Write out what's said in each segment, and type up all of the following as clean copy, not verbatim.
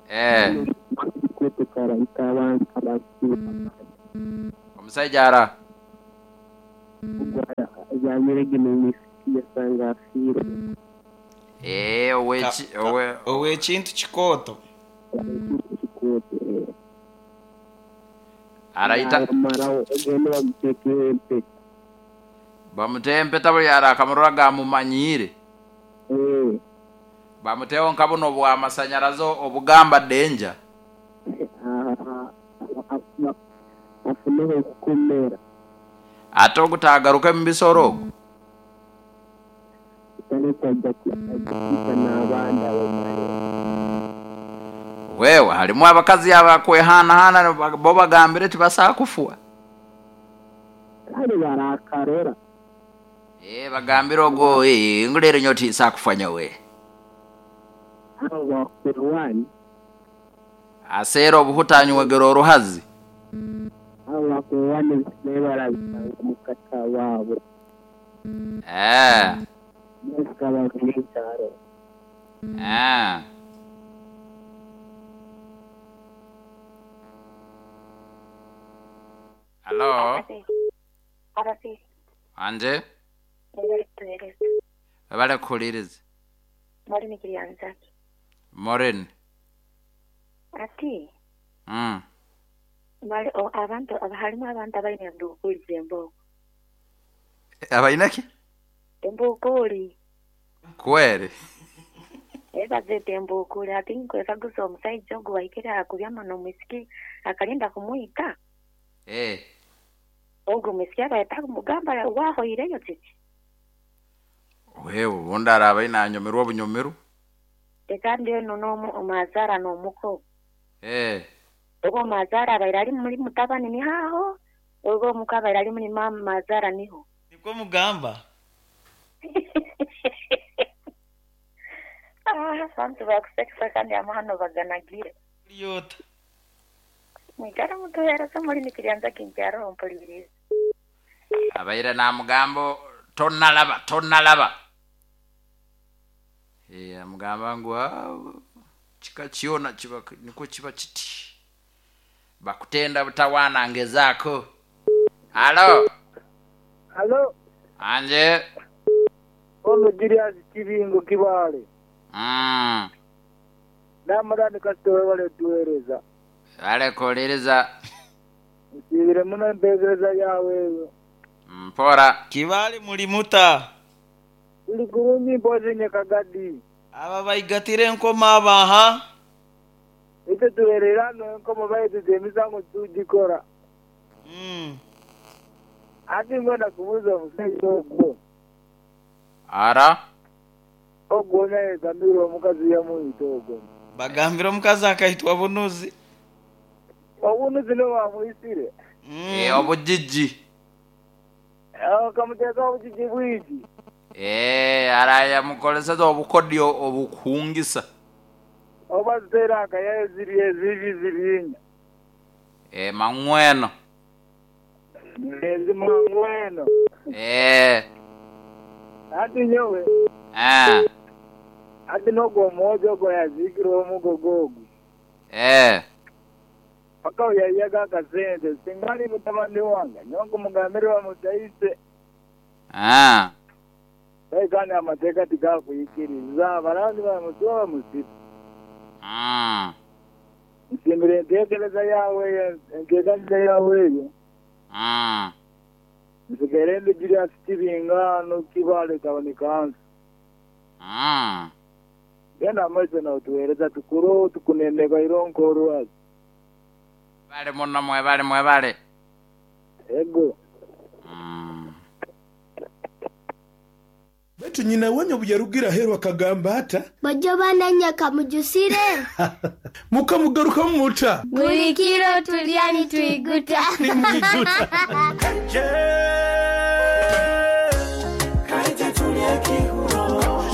Eh. Kikooto karaita abantu abakiire abandi. Omusaija ara? Ogu abyamire n'omwisiki yasanga afiire. Eh, oweki owe Ow'ekintu kikooto. Ekintu kikooto eh. Araita Bamaraho ogende bamuteekeho empeta. Bamuteho empeta buli arakamurora gamumanyiire. Eh. Bamuteho nka buno obw'amasanyarazi obugamba danger. Afuneho okukomera. Ate ogu taagaruke mu bisoro ogu? Taleka aija kwita n'abandi abamaleho. Wewe halimu abakazi abakwehanahana bo bagambire tibasobola kufwa. Kale barakarora. Eh, bagambire ogwo eh, ngu leero nyowe tinsobola kufa nyowe. Abo bakwerwana. Aseera obuhuta anywegera oruhazi. Abo bakwerwana ebisigaire barabisanga omu kata waabo. Eh. N'ekikaba n'ekyaro. Eh. Halo. Anje? Webale kuhuliriza. Maureen Kiryanzaki. Maureen. Ati. Male abantu halimu abantu abalina embuukuli z'embooko. Abalina ki? Embuukuli. Kweri? Ee bazeeta embuukuli. Ati nkwekaguza omusaija ogu waikire aha kubyama n'omwisiki akalinda kumwita? Ee. Ogu omwisiki abaire takumugamba wahoireyo kiki? Wewe obundi araaba aine anyumirwa obunyumirwa. Kandi eno n'omuzaara n'omuko. Ee. Oba omuzaara abaire ali muri mutabani niho aho, oba omuko abaire ali muri mazaara niho. Nikwo mugamba? Ah, abantu bakusekesa kandi amahano baganagire. Lyota. Mwikara mutuheereza muri nikiryanza kinkyaro mpuliriza. Abaire namugamba tonalaba tonalaba. Eh, amugamba ngu kika kyona kiba nikwo kiba kiti. Bakutenda butawaana ngezaako. Halo. Halo. Anje. Ono Julius Kibingo Kibaale. Namala ni kasita webale tuweereza. Webale kuwuliriza. Nsiibire muno empeereza yaawe eyo. Mpora. Kibaale muli muta? Tuli kurungi mpozi nye Kagadi. Aba baigatire enkoma aba ha? Itwe tuwerera hano enkomo baitu emisango titugikora. Ati nkwenda kubuuza omusaija ogwo. Ara? Ogwo naye omukazi yamwita ogwo. Bagambire omukazi akaitwa bunuzi. Obunuzi niwo bwamwisire. Eh, obujiji. Kamuteeka obujiji bwingi. Eh, ara yamukoleseza obukodyo obukuhungisa. Oba ziteera akayayo ziri ezibi zirinya. Eh, mangweno. Ezi mangweno. Eh. Ati nyowe. Eh. Ati n'ogwo omwojo ogwo yaziikire omugogo ogwo. Eh. Paka oyayaga akasente singa ali mutabani wange nyowe nkumugambire bamutaise. Ah. Aye kandi amateeka tigakwikiriza abalanzi bamusiba bamusibe. Nsiimire enteekereza yaawe eyo enteekaniza yaawe eyo. Nsigaire ndi Julius Kibinga ghano Kibaale Town Council. Genda mu maiso n'otuweereza tukure tukunenebwa ironka olwazi. Mwebale muno mwebale mwebale. Ego. Baitu nyina wanyu obu yarugire aheeru akagamba ata? Bojo bananya kamujusire. Mukamugarukamu muta? Buli kiro tulya nitwiguta. Nimwiguta.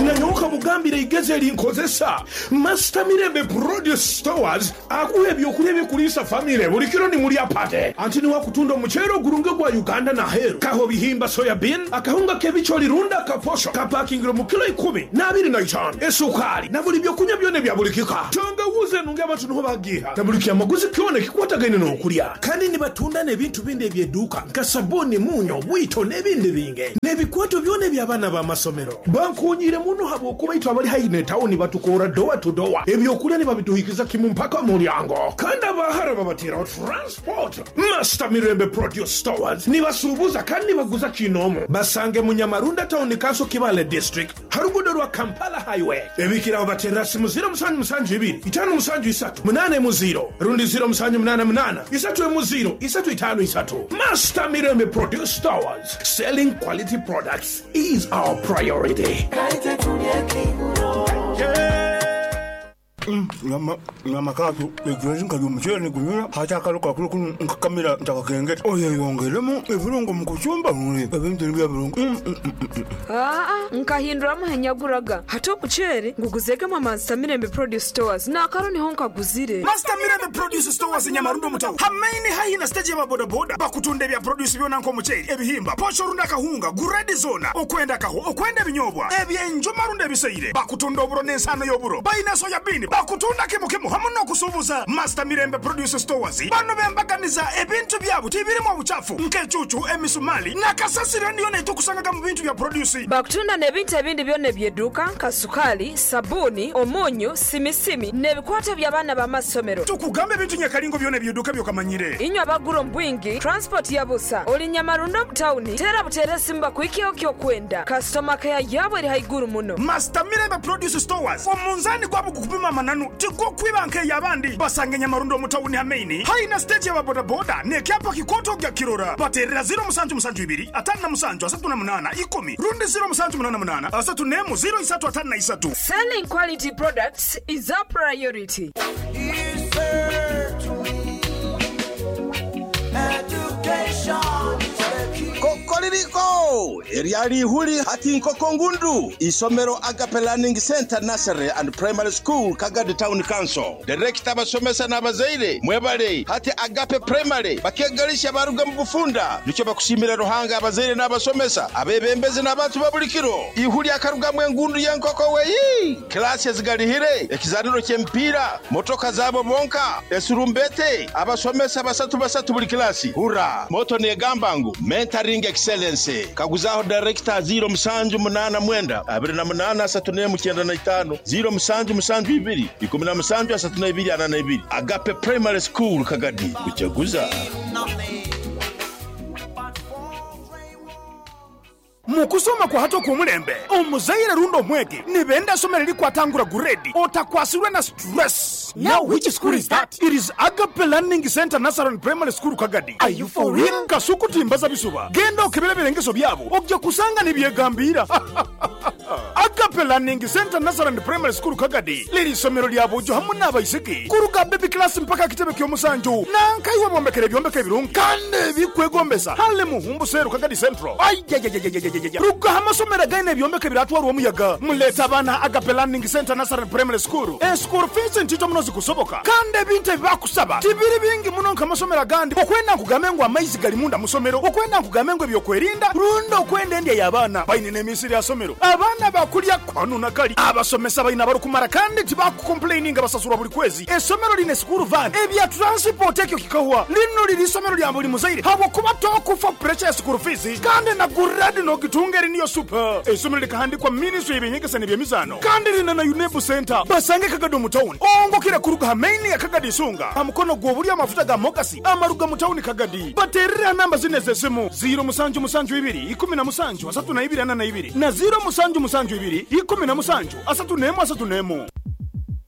Nanyowe kamugambira. Nkugambire eigezi eri nkozesa. Master Mirembe Produce Stores akuha ebyokulya ebikuliisa famire buli kiro ni mulya pate. Anti niwe akutunda omuceere ogurungi ogwa Uganda n'aheeru. Kaho bihimba soya bean, akahunga k'ebicooli rundi akaposho kapakingirwe mu kilo ikumi n'abiri na itaano, esukaali na buli byokunywa byona ebya buli kika. Tangawuuzi enungi abantu niho bagiiha na buli kyamaguzi kyona ekikwatagaine n'okulya. Kandi nibatunda n'ebintu bindi eby'eduuka nka sabuuni, munyo, bwito n'ebindi bingi. N'ebikwato byona eby'abaana b'amasomero. Bankoonyeire muno habw'okuba itwe abali haihi n'etawuni batukoora dowa tu dowa. Ebyokulya nibabituhikiza kimu mpaka mu mulyango. Kandi abahara babateeraho transport. Master Mirembe Produce Stores nibasuubuza kandi nibaguza kinoomu. Basange mu Nyamarunda Town Council Kibaale District ha ruguudo rwa Kampala Highway. Ebikiraho bateerera simu ziro musanju musanju ibiri, itaano musanju isatu, munaana emu ziro rundi ziro musanju munaana munaana, isatu emu ziro, isatu itaano isatu. Master Mirembe Produce Stores, selling quality products is our priority. Nyama kaatu, egyo nkalya omuceere nigunyura, hati akalo kakulu kunu nkakamira ntakakengeta. Oyeyongeremu ebirungo mu kucumba ebintu nibyo birungo. Aa, nkahinduramu henyaguraga. Hati omuceere nguguzegemu Master Mirembe Produce Stores n'akaro niho nkaguzire. Master Mirembe Produce Stores Nyamarundo mutawu. Hamaini haihi na stage ya bodaboda bakutunda ebya produce byona nk'omuceere, ebihimba, posho runda akahunga, guredi zona, okwenda kaho, okwenda ebinyobwa, ebyenjuma runda ebiseire, bakutunda oburo n'ensano y'oburo, bayina soya bean, bakutunda kimu kimu hamu n'okusuubuza. Master Mirembe Produce Stores bano bembaganiza ebintu byabo tibirimu obuchafu nk'ecucu, emisumali na kasasiro niyo netukusangaga mu bintu bya produce. Bakutunda n'ebintu ebindi byona eby'edduuka nka sukaali, sabuuni, omunyu, simisimi n'ebikwato by'abaana b'amasomero. Tukugamba ebintu nyakalingo byona eby'edduuka byokamanyire. Inywe abagura omu bwingi, transport ya busa, oli Nyamarundo mu tawuni, teera buteera esimu bakuhikeho ky'okwenda. Kasitoma keya yaabo eri haiguru muno. Master Mirembe Produce Stores omunzani gwabo gukupima amananu tigukwiba nk'eyabandi. Basange Nyamarundo mu tawuni hamaini haina stage ya bodaboda n'ekyapa kikoto gya kirora. Baterera 0772 57 38 10 rundi 0788 34 0353. Selling quality products is our priority. Kokoririko eryali ihuli hati nkoko ngundu isomero Agape Learning Center Nursery and Primary School Kagadi Town Council. Director abasomesa n'abazaire mwebale hati Agape Primary bakegalisha baruga mu bufunda nikyo bakusimira Ruhanga abazaire n'abasomesa abebembezi n'abantu babulikiro ihuli akarugamwe engundu y'enkoko weyi klasi ezigalihire ekizaniro ky'emipiira motoka zabo bonka esurumbete abasomesa basatu basatu buli klasi hura moto negamba ngu mentoring excellence kaguzaho director 0789 28 3495 0772 17 32 42 Agape Primary School Kagadi kuchaguza. Mukusoma kwa hato kumulembe omuzaire rundo omwegi nibenda somero likwatangura guredi otakwasirwe na stress. Now which school is that? It is Agape Learning Center Nursery and Primary School Kagadi. Are you for real? Kasuku timbaza bisuba genda okebera birengeso byabo ojja kusanga nibyegambira. Agape Learning Center Nursery and Primary School Kagadi liri somero lya bujo hamu n'abaisiki kuruga baby class mpaka kitebe ky'omusanju nankaiwe bombekere ebyombeko ebirungi kandi ebikwegombesa hale muhumbu seru Kagadi Central. Ayayayayayayaya ruga amasomero againe ebyombeko ebiratwarwa omuyaga muleta abaana Agape Learning Center Nursery and Primary School. Eschool fees ntito muno zikusoboka kandi ebintu ebibakusaba tibiri bingi muno nk'amasomero agandi. Okwenda nkugambe ngu amaizi gali munda musomero, okwenda nkugambe ngu ebyokwerinda rundi okwenda endya y'abaana baine n'emisiri ya somero abaana bakulya kwanu na kali abasomesa baina barukumara kandi tibakukomplaininga basasurwa buli kwezi. Esomero line school van ebya transport ekyo kikahwa lino liri isomero lya buli muzaire habwokuba tokufa pressure ya school fees kandi na guradi nogitunga eri niyo super. Esomero likahandikwa ministry y'ebyenyegesa n'ebyemizaano kandi lina na UNEB center basange Kagadi mu town ongokera kuruga hamaini ya Kagadi Isunga amukono gw'obuli amafuta ga mogasi amaruga mu town Kagadi. Baterera namba zine z'esimu 0772 17 32 42 na 0772 17 31 31.